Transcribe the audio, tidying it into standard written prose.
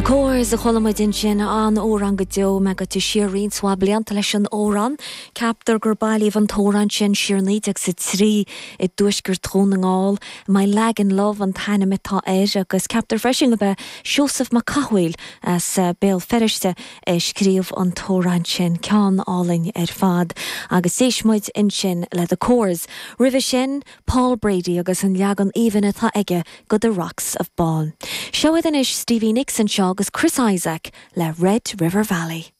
The Corrs a chuala muid ansin, an-amhrán go deo, mé gaibhte siar roinnt mhaith blianta leis an amhrán. Ceaptar gur bailíodh an t-amhrán sin siar 1903 i dtuaisceart Dhún na nGall. My Lagan Love an t-ainm atá air agus ceaptar freisin gurb é Seosamh Mac Cathmhaoil as Béal Feirste a scríobh an t-amhrán sin. Ceann álainn ar fad. Agus d'éist muid ansin le The Corrs. Roimhe sin, Paul Brady agus an leagan aoibhinn atá aige go The Rocks of Bawn. Seo iad anois Stevie Nicks anseo agus Chris Isaak le Red River Valley.